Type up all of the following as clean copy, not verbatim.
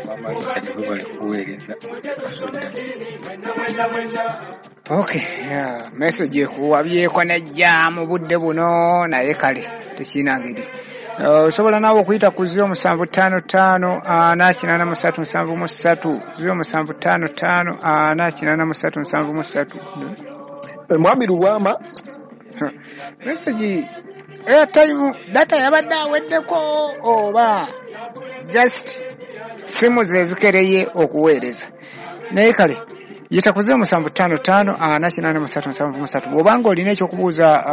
Wamala kati webale kuweereza Kasudda. Okay, yeah, message ekuwabyeko nejja mu budde buno, naye kale tekirina ngeri. Osobola naawe okuyita ku 0755 483 73, 0755 483 73. Mwami Lubwama, message airtime data yabadde aweddeko oba just simu ze zikereye okuweereza. Naye kale yita ku 0755 483 73. Bw'obanga olina ekyokubuuza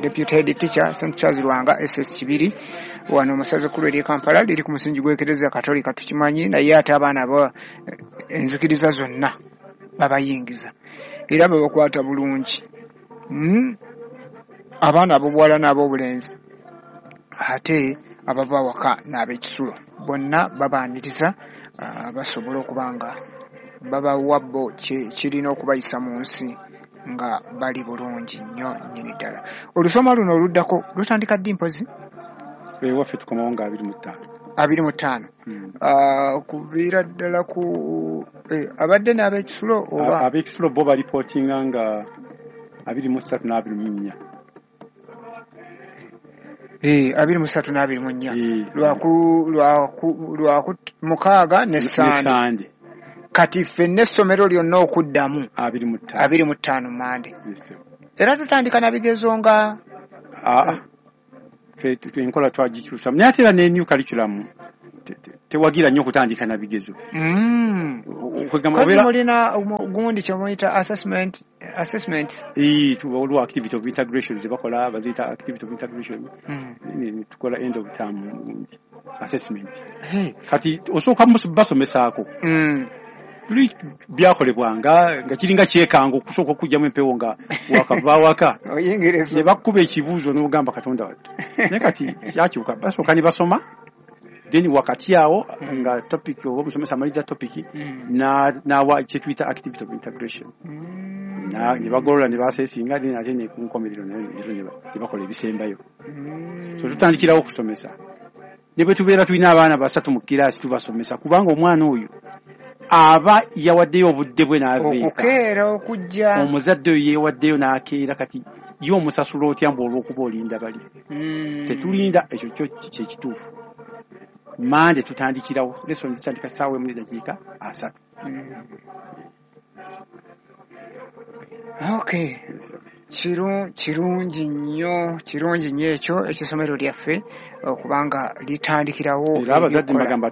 Deputy Head Teacher St Charles Lwanga SS Kibiri wano mu ssaza ekkulu ery'e Kampala, liri ku musingi gw'Ekereziya Katolika tukimanyi, naye ate abaana abo enzikiriza zonna babayingiza era babakwata bulungi. Abaana ab'obuwala n'ab'obulenzi ate abava awaka n'ab'ekisulo bonna babaaniriza, basobola okuba nga babawa bo kirina okubayisa mu nsi nga bali bulungi nnyo nnyini ddala. Olusoma luno oluddako lutandika ddi mpozi? Ewaffe tukomawo nga 25. 25. Kuviira ddala ku abadde n'ab'ekisulo oba? Ab'ekisulo bo balipootinga nga 23 na 24. 23 na 24. Lwaku 6 ne Sande. Kati ffenna essomero lyonna okuddamu 25 Mande. Era tutandika na bigezo nga enkola twagikyusa, naye ate era ne new curriculum tewagira nnyo okutandika na bigezo. Kozi mulina gundi kye muyita assessment. Waliwo activity of integration ze bakola, baziyita activity of integration. Tukola end of term assessment. Kati osooka basomesaako. Luli byakolebwanga nga kiringa kyekanga okusooka okugyamu empewo nga wakava waka ne bakkuba ekibuuzo n'ogamba Katonda wattu. Naye kati kyakyuka, basooka ne basoma, then wakati awo nga topic oba omusomesa amaliza topic n'awa kye tuyita activity of integration. Ne bagolola ne basesinga, then ate ne ku nkomerero nayo ne bakola ebisembayo. So tutandikirawo okusomesa. Ne bwe tubeera tulina abaana 3 mu kiraasi tubasomesa, kubanga omwana oyo aba yawaddeyo obudde bwe n'abeeka. Okukeera okujja. Omuzadde oyo yeewaddeyo n'akeera, kati ye omusasula otya mbu olw'okuba olinda bali. Tetulinda, ekyo kyo kye kituufu. Mande tutandikirawo, lesson zitandika ssaawa 1:30. Okay. Kirungi nnyo, kirungi nnyo ekyo eky'essomero lyaffe okubanga litandikirawo. Era abazadde mbagamba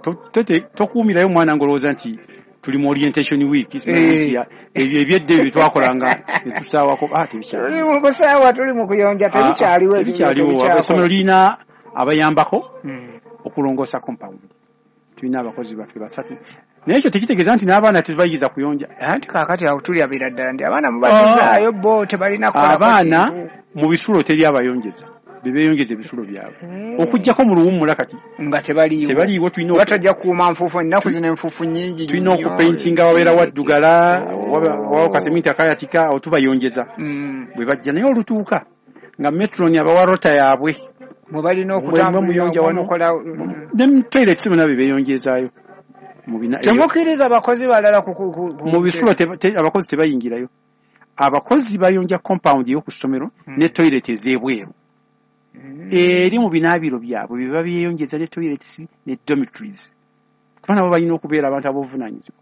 tokuumirayo omwana ng'olowooza nti tuli mu orientation week, ebyo ebyedda ebyo twakolanga ne tusaawako, tebikyaliwo. Tuli mu kusaawa, tuli mu kuyonja, tebikyaliwo. Tebikyaliwo. Essomero lirina abayambako okulongoosa compound. Tulina abakozi baffe 3. Naye ekyo tekitegeeza nti n'abaana tetubayigiriza kuyonja. Anti kaakati awo tulyabira ddala nti abaana mubazizaayo bo tebalina kukola. Abaana mu bisulo teri abayonjeza, bebeeyongeza ebisulo byabwe. Okuggyako mu luwummula kati nga tebaliiwo. Tebaliiwo, tulina batajja kukuuma nfuufu, ennaku zino enfuufu nnyingi. Tulina okupaintinga wabeera waddugala, wabawo kaseminti akayatika, awo tubayonjeza. Bwe bajja naye olutuuka nga metron abawa rota yaabwe. Mwe balina okutambulira wano ne toilet bonna bebeeyongezaayo. Temukkiriza abakozi balala mu bisulo, abakozi tebayingirayo. Abakozi bayonja compound ey'oku ssomero ne toilet ez'ebweru. Eri mu binaabiro byabwe bye babyeyongeza ne toilets ne dormitories. Kuba nabo balina okubeera abantu ab'obuvunaanyizibwa.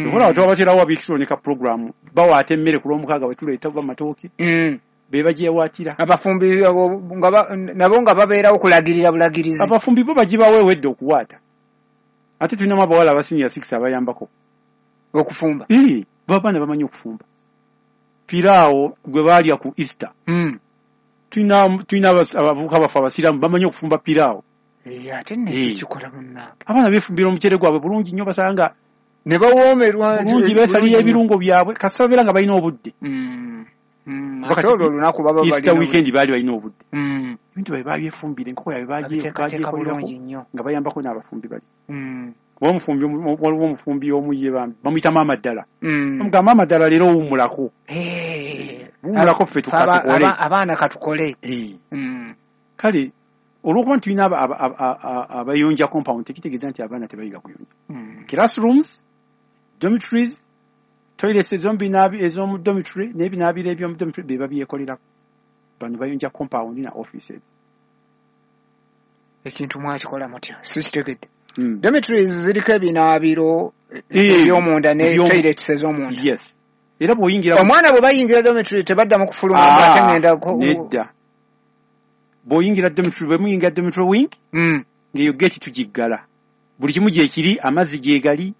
Okola twabaterawo ab'ekisulo ne ka program, bawaata emmere ku Lwomukaaga bwe tuleeta amatooke. Be bagyewaatira. Abafumbi nabo nga babeerawo kulagirira bulagirizi. Abafumbi bo bagibawa ewedde okuwaata. Ate tulinamu abawala aba senior 6 abayambako okufumba. Babaana bamanyi okufumba. Piraawo gwe baalya ku Easter. Tulina abavubuka baffe abasiraamu bamanyi okufumba piraawo. Ate nno ekyo kikola munnange. Abaana beefumbira omuceere gwabwe bulungi nnyo, basanga ne bawoomerwa bulungi, beesalira ebirungo byabwe kasita babeera nga balina obudde. Ate olwo olunaku baba Easter weekend baali balina obudde. Ebintu bye babyefumbira, enkoko yaabwe bagyekolerako nga bayambako n'abafumbi bali. Waliwo omufumbi omu ye bambi bamuyita Maama Ddala. Bamugamba Maama Ddala leero owummulako. Wummulako ffe tukole. Abaana katukole. Kale Olw'okuba nti tulina abayonja compound, tekitegeeza nti abaana tebayiga kuyonja. Classrooms, dormitories, toilets ez'omu dormitory n'ebinaabiro eby'omu dormitory be babyekolerako. Bano bayonja compound na offices. Ekintu mwakikola mutya? Sikitegedde. Dormitories ziriko ebinaabiro eby'omunda ne toilets ez'omunda. Yes. Era bw'oyingira omwana bwe bayingira dormitory tebaddamu kufuluma ate ngenda nedda. Bw'oyingira dormitory, bwe muyingira dormitory wing, ng'eyo gate tugiggala. Buli kimu gyekiri, amazzi gyegali,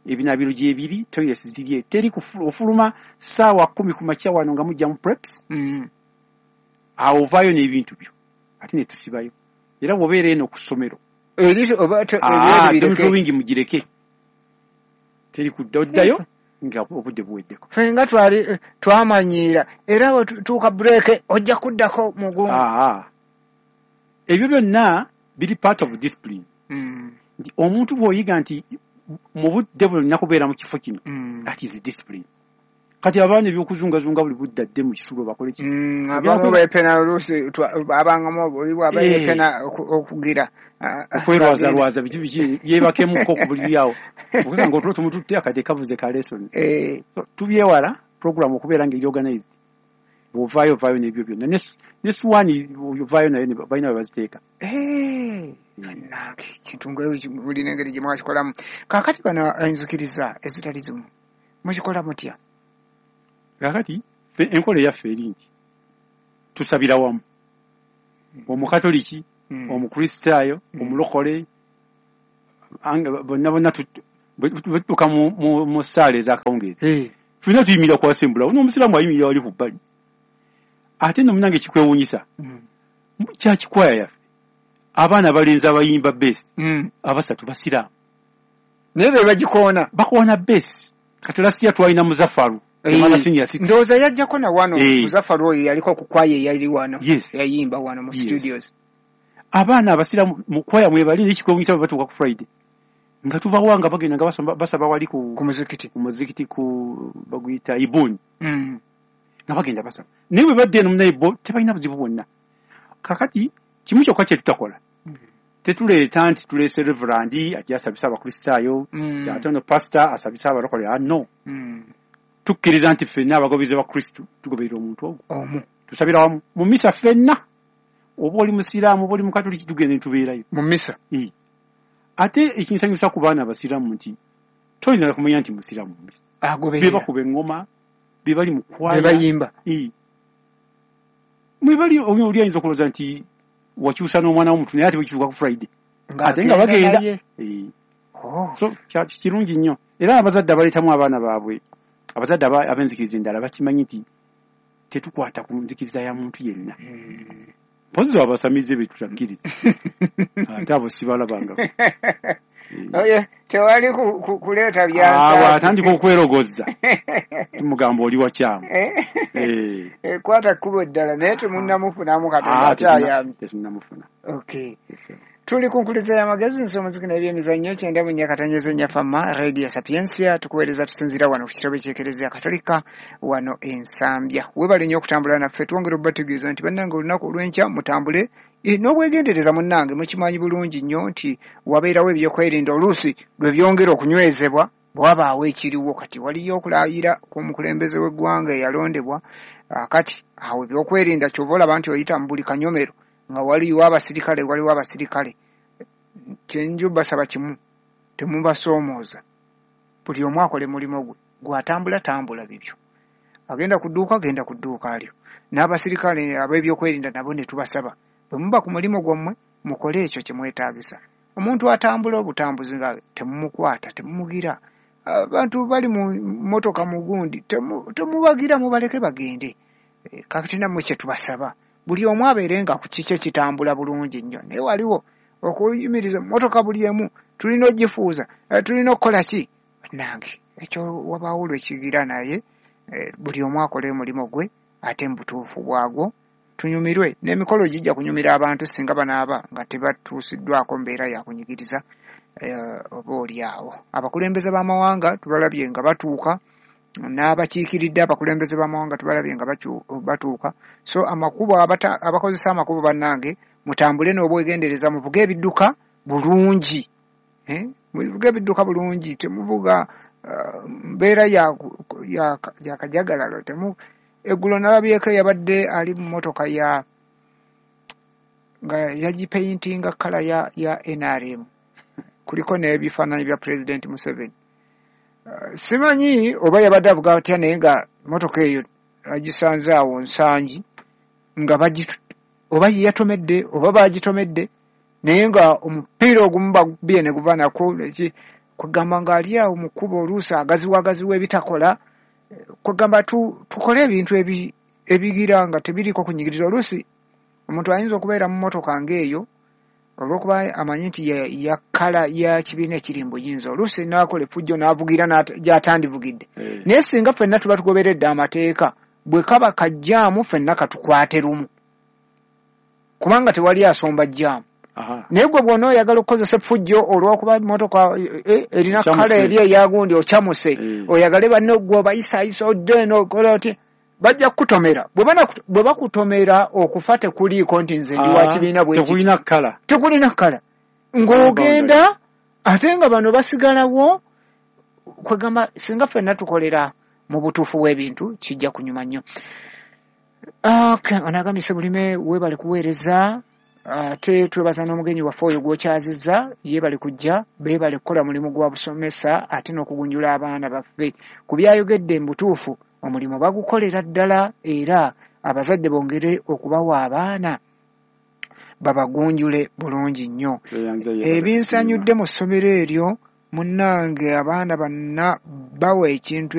ebinaabiro gyebiri, toilets ziri, teri ofuluma 10:00 ku makya wano nga mujja mu preps. Awo ovaayo n'ebintu byo ate ne tusibayo. Era bw'obeera eno ku ssomero dormitory wing mugireke, teri kudda, oddayo nga obudde buweddeko. Ffe nga twali twamanyiira, era bwe tutuuka break ojja kuddako mugumu. Ebyo byonna biri part of discipline. Nti omuntu bw'oyiga nti mu budde buno nina kubeera mu kifo kino, that is discipline. Kati abaana ebyokuzungazunga buli budde adde mu kisulo bakole ki? Abamu beepena, oluusi abangamu oli bw'aba yeepena okugira okwerwazalwaza biki biki, yeebakemuko ku buliri awo, okubanga nga otulo tumututte, akadde kavuze ka lesson. So, tubyewala program okubeera ng'eri organized. Bw'ovaayo, ovaayo n'ebyo byonna, ne suwaani ovaayo nayo balina we baziteeka. Bannange, kintu nga bulina engeri gye mwakikolamu. Kaakati bano enzikiriza ezitali zimu mukikola mutya? Kaakati ffe enkola eyaffe eri nti tusabira wamu, Omukatoliki, Omukristaayo, omulokole, bonna bonna bwe tutuuka mu ssaala ez'akawungeezi, ffenna tuyimirira ku assembly awo, n'omusiraamu ayimirira wali ku bbali. Ate nno munnange kikwewuunyisa, church choir yaffe, abaana abalenzi abayimba bass abasatu basiraamu. Naye be bagikoona? Bakoona bass. Kati last year twalina Muzafaru yamala senior six. Ndowooza yajjako na wano. Muzafaru oyo yaliko ku kwaya eyali wano, yayimba wano mu studios. Abaana abasiraamu mu kwaya mwebali, naye kikwewuunyisa bwe batuuka ku Friday nga tubawa nga bagenda nga basaba wali ku muzikiti. Ku muzikiti, ku baguyita Ibuni, nga bagenda basaba. Naye bwe badda eno munaye bo tebalina buzibu bwonna. Kakati kimu kyokka kye tutakola, tetuleeta nti tuleese reverend ajja asabisa Abakristaayo, ate ono pastor asabisa abalokole. No, tukkiriza nti ffenna abagoberezi ba Kristu tugoberera omuntu ogwo omu. Tusabira wamu mu misa ffenna, oba oli musiraamu oba oli mukatoliki, tugenda ne tubeerayo mu misa. Ate ekinsanyusa ku baana abasiraamu nti toyinza kumanya nti musiraamu mu misa. Be agoberera bakuba eŋŋoma, be bali mu kwaya, be bayimba. Mwebali oli ayinza okulowooza nti wakyusa n'omwana w'omuntu, naye ate bwekituuka ku Friday ate nga ng'agenda bagenda. Naye. Oh. So kirungi nnyo, era abazadde abaleetamu abaana baabwe, abazadde ab'enzikiriza endala bakimanyi nti tetukwata ku nzikiriza ya muntu yenna, mpozzi abasamize be tutakkiriza, ate abo sibalabangako. Oye, tewali kuleeta Awo byansaasi. atandika okwerogozza, tumugamba oli wakyamu. Kwata kkubo eddala, naye temunnamufunamu, Katonda akyayambye. Tetunnamufuna. Okay. Tuli ku nkuliza y'amagezi, nsomuziki n'ebyemizannyo, 94.4 Fama Radio Sapientia. Tukuweereza tusinziira wano ku kitebe ky'Ekereziya Katolika wano Ensambya. Weebale nnyo okutambula naffe. Twongera okubategeeza nti bannange, olunaku olw'enkya mutambule n'obwegendereza. Munnange, mukimanyi bulungi nnyo nti wabeerawo ebyokwerinda, oluusi lwe byongera okunywezebwa bwabaawo ekiriwo. Kati waliyo okulayira kw'omukulembeze w'eggwanga eyalondebwa. Kati awo ebyokwerinda kyova olaba nti oyita mu buli kanyomero nga waliwo abasirikale, waliwo abasirikale. Kyenju basaba kimu, temubasoomooza. Buli omu akole mulimu gwe, gwatambula tambula bibyo, agenda ku dduuka genda ku dduuka lyo. N'abasirikale ab'ebyokwerinda nabo ne tubasaba, bwe muba ku mulimu gwammwe mukole ekyo kye mwetaagisa. Omuntu atambula obutambuzi nga temumukwata, temumugira. Abantu bali mu mmotoka mugundi, temubagira, mubaleke bagende. Kakati nammwe kye tubasaba, buli omu abeere nga ku kikye kitambula bulungi nnyo. Naye waliwo okuyimiriza emmotoka buli emu, tulina ogifuuza, tulina okukola ki? Nange ekyo wabaawo lwekigira, naye buli omu akole omulimu gwe ate mu butuufu bwagwo, tunyumirwe n'emikolo gijja kunyumira abantu singa banaaba nga tebatuusiddwako mbeera ya kunyigiriza oba oli awo. Abakulembeze b'amawanga tubalabye nga batuuka, n'abakiikiridde abakulembeze b'amawanga tubalabye nga batuuka. So amakubo, abakozesa amakubo bannange, Mutambule n'obwegendereza, muvuge ebidduka bulungi, muvuge ebidduka bulungi, temuvuga mbeera ya kajagalalo. Eggulo nalabyeko yabadde ali mu mmotoka ya nga yagipeyintinga kkala ya NRM, kuliko n'ebifaananyi bya Pulezidenti Museveni. Simanyi oba yabadde avuga atya, naye nga mmotoka eyo agisanze awo Nsangi nga oba ye yatomedde oba bagitomedde, naye nga omupiira ogumu bagubye ne guva nako kwegamba ng'ali awo mu kkubo, oluusi agaziwa ebitakola. Kwegamba tukole ebintu ebigira nga tebiriiko kunyigiriza. Oluusi omuntu ayinza okubeera mu mmotoka ng'eyo olw'okuba amanyi nti ya kkala ya kibiina ekiri mu buyinza, oluusi n'akola effujjo n'avugira gy'atandivugidde. Naye singa ffenna tuba tugoberedde amateeka, bwe kaba kajjaamu ffenna katukwate lumu, kubanga tewali asomba jjaamu. Naye gwe bw'ona oyagala okukozesa effujjo olw'okuba mmotoka erina kkala eri eyagundi ocamuse, oyagale banno gwe obayisaayisa odde eno okola oti, bajja kukutomera. Bwe bakutomera okufa tekuliiko nti nze ndi wa kibiina bwe tekulina kkala, tekulina kkala, ng'ogenda ate nga bano basigalawo. Kwegamba singa ffenna tukolera mu butuufu bw'ebintu kijja kunyuma nnyo. Ono agambye, "Sebulime, weebale kuweereza, ate twebaza n'omugenyi waffe oyo gw'okyazizza. Yeebale kujja, beebale kukola mulimu gwa busomesa ate n'okugunjula abaana baffe. Ku byayogedde mu butuufu omulimu bagukolera ddala, era abazadde bongere okubawa abaana babagunjule bulungi nnyo. Ebinsanyudde mu ssomero eryo munnange, abaana banna bawa ekintu